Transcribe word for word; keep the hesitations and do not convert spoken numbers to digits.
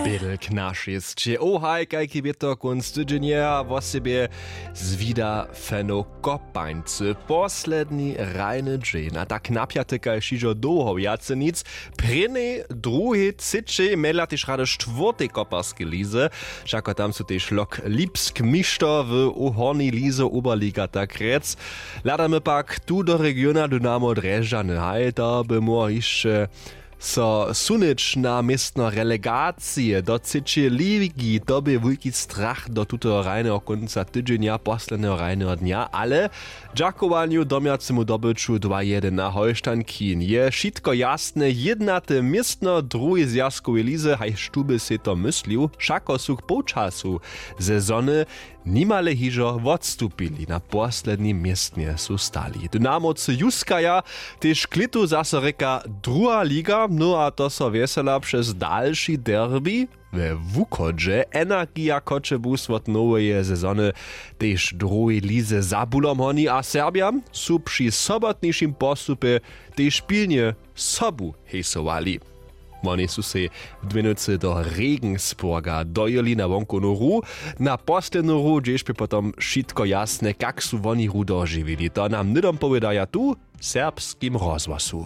Bědel k našej sće ohaj kajki wětor kónc tydźenja a wosebje zwida feno kopańcy posledni hrajny dźeń a tak napjaty kaž hižo dołho wjace nic. Prěnej druhej třěćej mjedla tež rady štwórtej koparskej lizy. Wšako tam su tež lok lipsk mišto w hornjej lizy oberliga tak rjec. Hladamy pak tu do regiona dynamo drježdźany haj to by móhło hišće so sunyć na městno relegacije do třěćeje ligi to bě wulki strach do tutoho hrajneho kónca tydźenja posledneho hrajneho dnja ale w dźakowanju domjacemu dobyću dwa jedyn na holštankin je wšitko jasne jědnate městno w druhej zwjazkowej lize hajž tu by sej to myslił wšako su k połčasu sezony nimale hižo wotstupili na poslednim městnje su stali dynamowcy juskaja tež klětu zaso rěka druha liga no a to so wjesela přez dalši derbi we wuchodźe energija choćebuz wot noweje sezony tež w druhej lize za bulom honi a serbjam su při sobotnišim postupje tež pilnje sobu hejsowali. Woni su sej w dwěnowcy do regensburga dojěli na wonkownu hru na poslednu hru hdźež bě potom wšitko jasne kak su woni hru dožiwili to nam hnydom powědaja tu w serbskim rozhłosu.